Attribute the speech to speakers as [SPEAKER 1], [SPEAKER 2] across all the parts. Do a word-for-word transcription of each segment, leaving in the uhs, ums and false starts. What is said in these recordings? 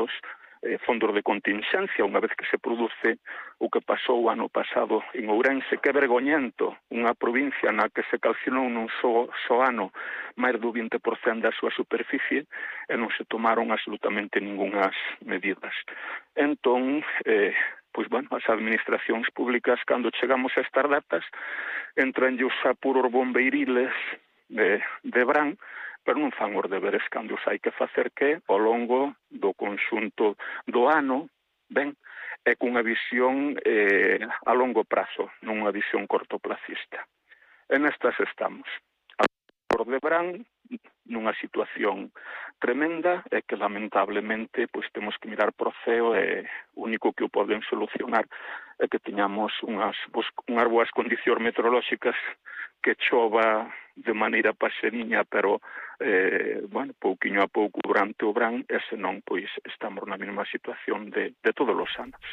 [SPEAKER 1] digamos, eh, fondos de contingencia, unha vez que se produce o que pasou o ano pasado en Ourense, que é vergoñento, unha provincia na que se calcinou nun só, só ano máis do vinte por cento da súa superficie e non se tomaron absolutamente ningunhas medidas. Entón, eh, pois, bueno, as administracións públicas, cando chegamos a estas datas, entran os apuros bombeiriles de, de verán, pero non fan os deberes cando os hai que facer que ao longo do conxunto do ano, ben, é cunha visión eh, a longo prazo, non unha visión cortoplacista. E nestas estamos. Por de verán, nunha situación tremenda, e que lamentablemente pois temos que mirar pro ceo, e o único que o poden solucionar é que teñamos unhas, unhas boas condicións meteorolóxicas, que chova de maneira paseniña, pero eh, bueno, pouquiño a pouco durante o verán, e senón pois estamos na mesma situación de, de todos os anos.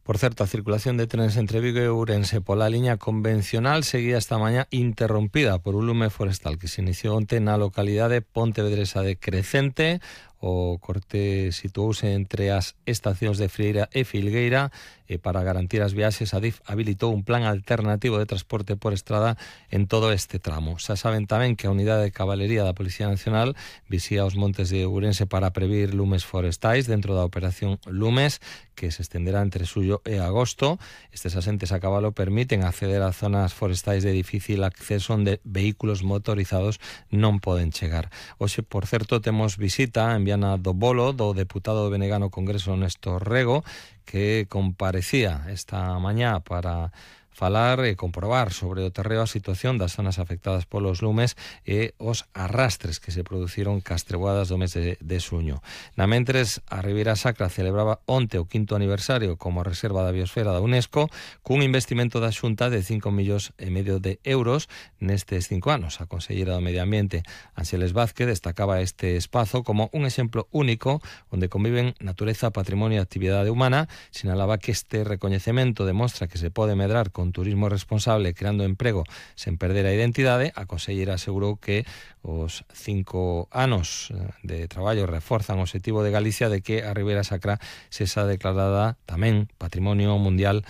[SPEAKER 2] Por certo, a circulación de trenes entre Vigo e Ourense pola liña convencional seguía esta mañá interrompida por un lume forestal que se iniciou onte na localidade pontevedresa de Crecente. O corte situouse entre as estacións de Frieira e Filgueira e para garantir as viaxes a DIF habilitou un plan alternativo de transporte por estrada en todo este tramo. Xa saben tamén que a unidade de cabalería da Policía Nacional visía os montes de Ourense para previr lumes forestais dentro da operación Lumes, que se estenderá entre xullo e agosto. Estes asentes a cabalo permiten acceder a zonas forestais de difícil acceso onde vehículos motorizados non poden chegar. Hoxe, por certo, temos visita en Viana do Bolo do deputado do Benegano Congreso Néstor Rego, que comparecía esta mañá para falar e comprobar sobre o terreo a situación das zonas afectadas polos lumes e os arrastres que se produciron cas treboadas do mes de, de xuño. Na mentres, a Ribeira Sacra celebraba onte o quinto aniversario como reserva da biosfera da UNESCO, cun investimento da Xunta de cinco millóns e medio de euros nestes cinco anos. A conselleira do Medio Ambiente, Ánxeles Vázquez, destacaba este espazo como un exemplo único onde conviven natureza, patrimonio e actividade humana. Sinalaba que este recoñecemento demostra que se pode medrar con turismo responsable creando emprego sen perder a identidade. A conselleira asegurou que os cinco anos de traballo reforzan o obxectivo de Galicia de que a Ribeira Sacra sexa declarada tamén Patrimonio Mundial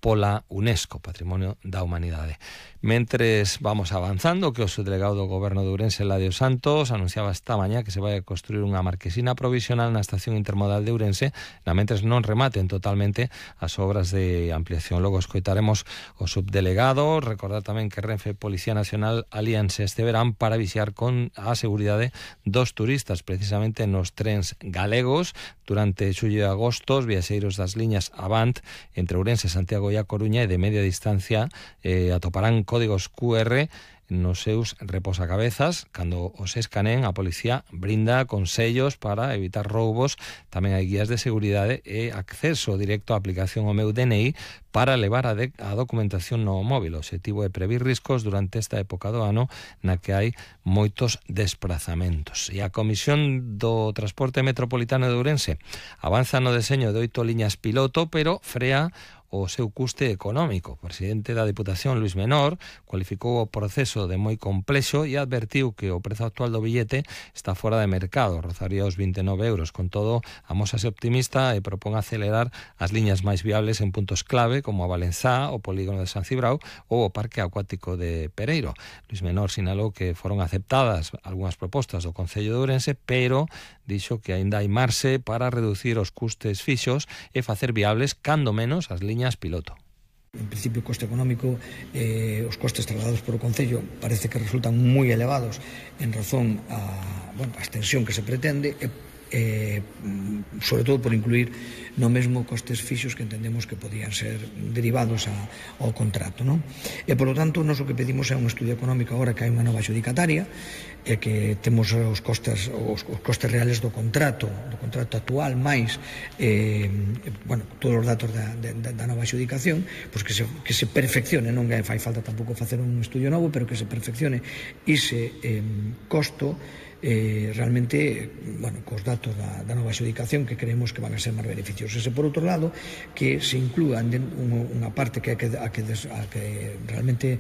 [SPEAKER 2] pola UNESCO, Patrimonio da Humanidade. Mentres vamos avanzando, que o subdelegado do Goberno de Ourense, Eladio Santos, anunciaba esta mañá que se vai a construir unha marquesina provisional na estación intermodal de Ourense, na mentres non rematen totalmente as obras de ampliación. Logo escoitaremos o subdelegado. Recordar tamén que Renfe e Policía Nacional alíanse este verán para vixiar con a seguridade dos turistas, precisamente nos trens galegos. Durante xullo e agosto, os viaxeiros das liñas Avant entre Ourense, Santiago e A Coruña e de media distancia eh, atoparán códigos cu erre nos seus reposacabezas. Cando os escaneen, a policía brinda con sellos para evitar roubos. Tamén hai guías de seguridade e acceso directo á aplicación O Meu D N I para levar a, de, a documentación no móvil. O obxectivo é previr riscos durante esta época do ano na que hai moitos desplazamentos. E a Comisión do Transporte Metropolitano de Ourense avanza no deseño de oito liñas piloto, pero frea o seu custe económico. O presidente da Diputación, Luis Menor, cualificou o proceso de moi complexo e advertiu que o prezo actual do billete está fora de mercado, rozaría os vinte e nove euros. Con todo, amósase optimista e propón acelerar as liñas máis viables en puntos clave como a Valenzá, o polígono de San Cibrao ou o Parque Acuático de Pereiro. Luis Menor sinalou que foron aceptadas algunhas propostas do Concello de Ourense, pero dixo que aínda hai marxe para reducir os custes fixos e facer viables cando menos as liñas piloto.
[SPEAKER 3] En principio, o coste económico, eh, os costes trasladados por o Concello parece que resultan moi elevados en razón a, bueno, a extensión que se pretende e eh, sobre todo por incluir no mesmo costes fixos que entendemos que podían ser derivados a, ao contrato, non? E, polo tanto, nós o que pedimos é un estudio económico agora que hai unha nova adxudicataria e que temos os costes os, os costes reales do contrato do contrato actual máis eh, bueno, todos os datos da, da, da nova adxudicación, pois que se, que se perfeccione, non que fai falta tampouco facer un estudio novo, pero que se perfeccione ese eh, costo eh, realmente, bueno, cos datos da, da nova adxudicación que creemos que van a ser máis beneficiosos. E, por outro lado, que se inclúan unha parte que, a que, a que, a que realmente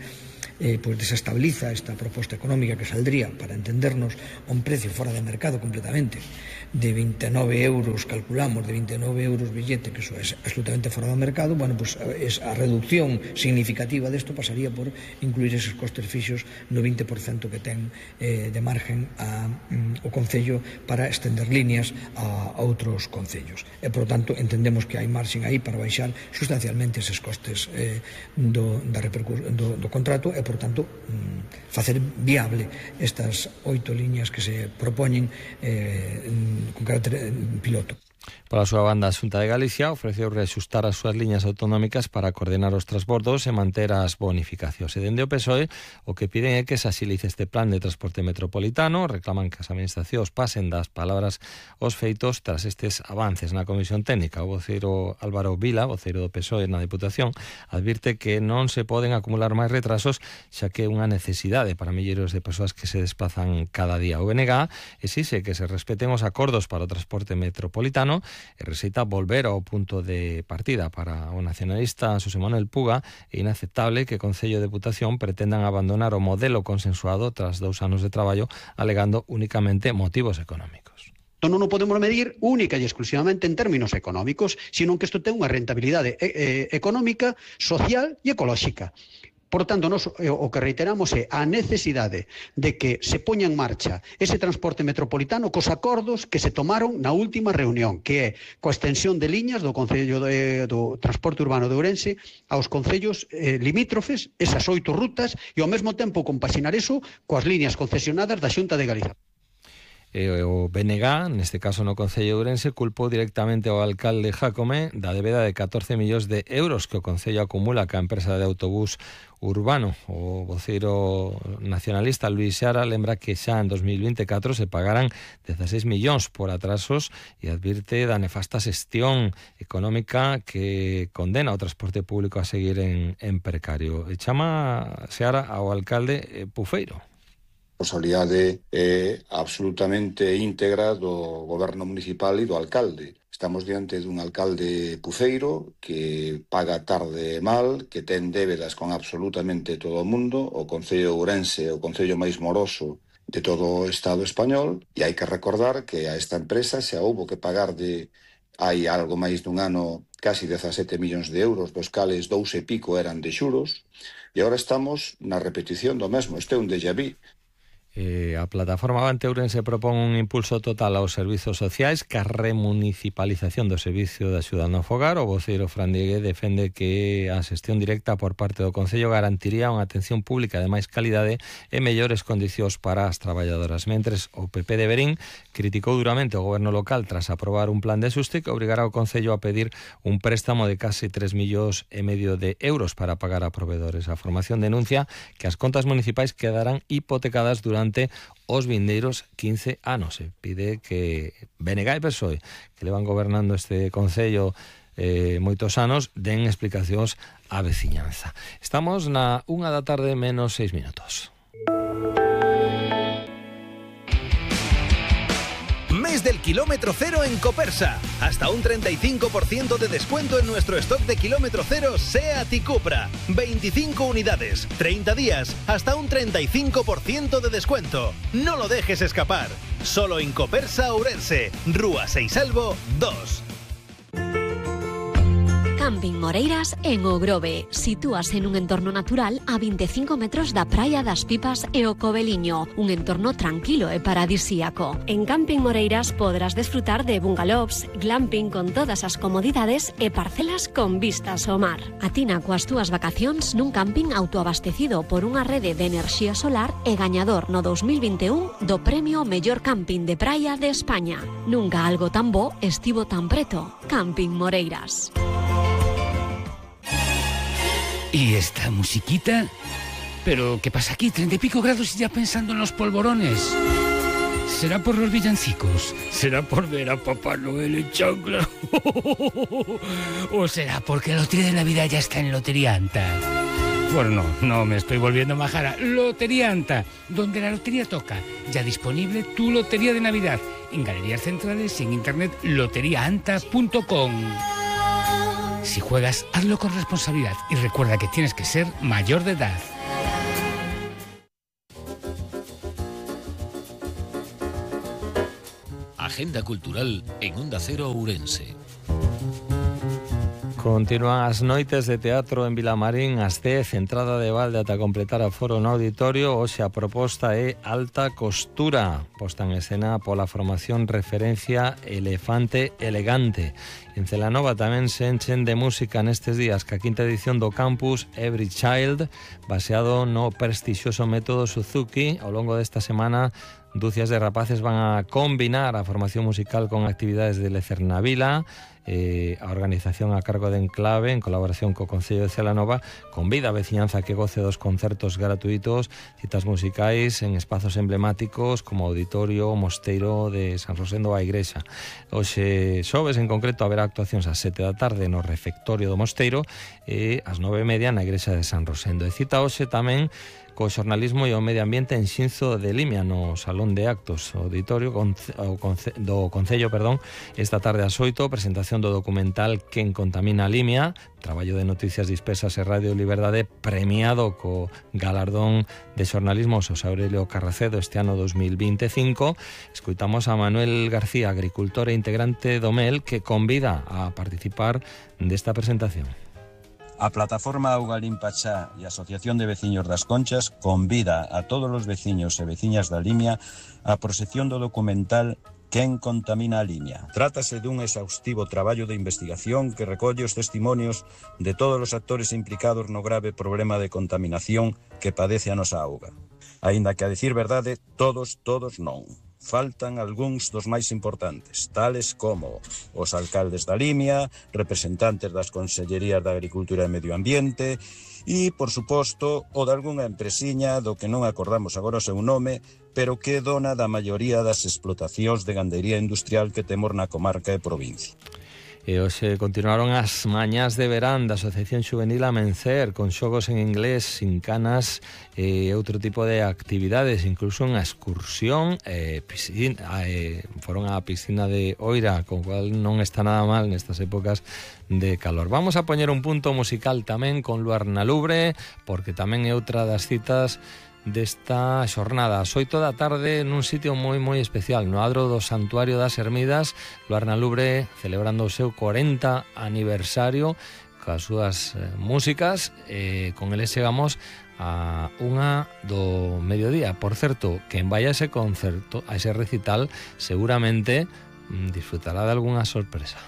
[SPEAKER 3] eh, pues desestabiliza esta proposta económica que saldría, para entendernos, a un precio fora de mercado completamente, de veintinueve euros, calculamos, de veintinueve euros billete, que eso es absolutamente fora do mercado, bueno, pues es, a reducción significativa desto pasaría por incluir esos costes fixos no vinte por cento que ten eh, de margen a, um, o Concello para estender líneas a, a outros concellos. E, por tanto, entendemos que hai marxen aí para baixar sustancialmente eses costes eh, do, da do, do contrato e, por tanto, um, facer viable estas oito líneas que se propoñen eh, con carácter piloto.
[SPEAKER 2] Pola súa banda, a Xunta de Galicia ofreceu reaxustar as súas liñas autonómicas para coordinar os transbordos e manter as bonificacións. E dende o P S O E, o que piden é que se axilice este plan de transporte metropolitano, reclaman que as administracións pasen das palabras aos feitos tras estes avances na Comisión Técnica. O voceiro Álvaro Vila, voceiro do P S O E na Deputación, advirte que non se poden acumular máis retrasos, xa que é unha necesidade para milleiros de persoas que se desplazan cada día. O B N G exixe que se respeten os acordos para o transporte metropolitano e receita volver ao punto de partida. Para o nacionalista Xosé Manuel Puga, é inaceptable que o Concello de Deputación pretendan abandonar o modelo consensuado tras dous anos de traballo, alegando únicamente motivos económicos.
[SPEAKER 4] Non o podemos medir única e exclusivamente en términos económicos, sino que isto ten unha rentabilidade eh, económica, social e ecolóxica. Por tanto, nos, o que reiteramos é a necesidade de que se poña en marcha ese transporte metropolitano cos acordos que se tomaron na última reunión, que é coa extensión de liñas do Concello de, do Transporte Urbano de Ourense aos concellos eh, limítrofes, esas oito rutas, e ao mesmo tempo compaxinar eso coas líneas concesionadas da Xunta de Galicia.
[SPEAKER 2] E o B N G, neste caso no Concello de Ourense, culpou directamente ao alcalde Jácome da débeda de catorce millóns de euros que o Concello acumula ca empresa de autobús urbano. O voceiro nacionalista Luís Xara lembra que xa en dos mil vinte e catro se pagaran dezaseis millóns por atrasos e advirte da nefasta xestión económica que condena o transporte público a seguir en, en precario. E chama Xara ao alcalde eh, Pufeiro.
[SPEAKER 5] A responsabilidade é absolutamente íntegra do goberno municipal e do alcalde. Estamos diante dun alcalde puceiro que paga tarde e mal, que ten débedas con absolutamente todo o mundo, o Concello de Ourense é o concello máis moroso de todo o Estado español, e hai que recordar que a esta empresa xa houbo que pagar de hai algo máis dun ano casi dezasete millóns de euros, dos cales dous e pico eran de xuros, e agora estamos na repetición do mesmo. Este é un déjà vu.
[SPEAKER 2] Eh, a plataforma Avante Ourense propón un impulso total aos servizos sociais ca remunicipalización do servicio de axuda no fogar. O voceiro Fran Diegue defende que a xestión directa por parte do Concello garantiría unha atención pública de máis calidade e mellores condicións para as traballadoras. Mentres o P P de Verín criticou duramente o goberno local tras aprobar un plan de xuste que obrigará o Concello a pedir un préstamo de case tres millóns e medio de euros para pagar a proveedores. A formación denuncia que as contas municipais quedarán hipotecadas durante os vindeiros quince anos. Se pide que B N G e P S O E, que levan gobernando este Concello eh, moitos anos, den explicacións á veciñanza. Estamos na unha da tarde menos seis minutos.
[SPEAKER 6] Mes del kilómetro cero en Copersa. Hasta un treinta y cinco por ciento de descuento en nuestro stock de kilómetro cero SEAT y Cupra. veinticinco unidades, treinta días, hasta un treinta y cinco por ciento de descuento. No lo dejes escapar. Solo en Copersa Ourense, Rúa Seisalvo dos.
[SPEAKER 7] Camping Moreiras en O Grove. Sitúase en un entorno natural a veinticinco metros da Praia das Pipas e o Coveliño, un entorno tranquilo e paradisíaco. En Camping Moreiras podrás desfrutar de bungalows, glamping con todas as comodidades e parcelas con vistas ao mar. Atina coas túas vacacións nun camping autoabastecido por unha rede de enerxía solar e gañador no dos mil vinte e un do premio Mellor Camping de Praia de España. Nunca algo tan bo estivo tan preto. Camping Moreiras.
[SPEAKER 8] ¿Y esta musiquita? ¿Pero qué pasa aquí? Treinta y pico grados y ya pensando en los polvorones. ¿Será por los villancicos? ¿Será por ver a Papá Noel en chancla? ¿O será porque la lotería de Navidad ya está en Lotería Anta? Bueno, no, no me estoy volviendo majara. Lotería Anta, donde la lotería toca. Ya disponible tu lotería de Navidad. En galerías centrales y en internet lotería anta punto com. Si juegas, hazlo con responsabilidad y recuerda que tienes que ser mayor de edad.
[SPEAKER 9] Agenda cultural en Onda Cero Ourense.
[SPEAKER 2] Continúan as noites de teatro en Vilamarín ás dez, entrada de balde ata completar a foro no auditorio. Hoxe a proposta é Alta Costura, posta en escena pola formación Referencia Elefante Elegante. En Celanova tamén se enchen de música nestes días ca quinta edición do campus Every Child, baseado no prestixioso método Suzuki. Ao longo desta semana, dúcias de rapaces van a combinar a formación musical con actividades de lecer na vila. Eh, a organización a cargo de Enclave, en colaboración co Concello de Celanova, convida a veciñanza que goce dos concertos gratuitos, citas musicais en espazos emblemáticos como o Auditorio, o Mosteiro de San Rosendo a Igrexa. Hoxe xoves en concreto haberá actuacións ás sete da tarde no refectorio do Mosteiro e ás nove e media na Igrexa de San Rosendo. E cita hoxe tamén co xornalismo e o medio ambiente en Xinzo de Limia no Salón de Actos Auditorio do Concello, perdón, esta tarde ás oito, presentación do documental Quen contamina a Limia, traballo de noticias dispersas e Radio Liberdade premiado co galardón de xornalismo Xosé Aurelio Carracedo este ano dos mil vinte e cinco. Escoitamos a Manuel García, agricultor e integrante do M E L, que convida a participar desta presentación.
[SPEAKER 10] A plataforma Auga Limpa Xa e a Asociación de Veciños das Conchas convida a todos os veciños e veciñas da Limia á proxección do documental Quen contamina a Limia. Trátase dun exhaustivo traballo de investigación que recolle os testimonios de todos os actores implicados no grave problema de contaminación que padece a nosa auga. Aínda que, a decir verdade, todos, todos non. Faltan algúns dos máis importantes, tales como os alcaldes da Limia, representantes das Consellerías de Agricultura e Medio Ambiente e, por suposto, o de algunha empresiña do que non acordamos agora o seu nome, pero que é dona da maioría das explotacións de gandería industrial que temos na comarca e provincia.
[SPEAKER 2] E hoxe continuaron as mañás de verán da Asociación Xuvenil Amencer, con xogos en inglés, sin canas e outro tipo de actividades, incluso unha excursión e piscina, e foron á piscina de Oira, con cual non está nada mal nestas épocas de calor. Vamos a poñer un punto musical tamén con Luar na Lubre, porque tamén é outra das citas desta xornada ás oito da tarde nun sitio moi moi especial, no adro do Santuario das Ermidas. Luar na Lubre celebrando o seu corenta aniversario coas súas eh, músicas, e con eles chegamos a unha do mediodía. Por certo, quen vai a ese concerto, a ese recital, seguramente mm, disfrutará de algunha sorpresa.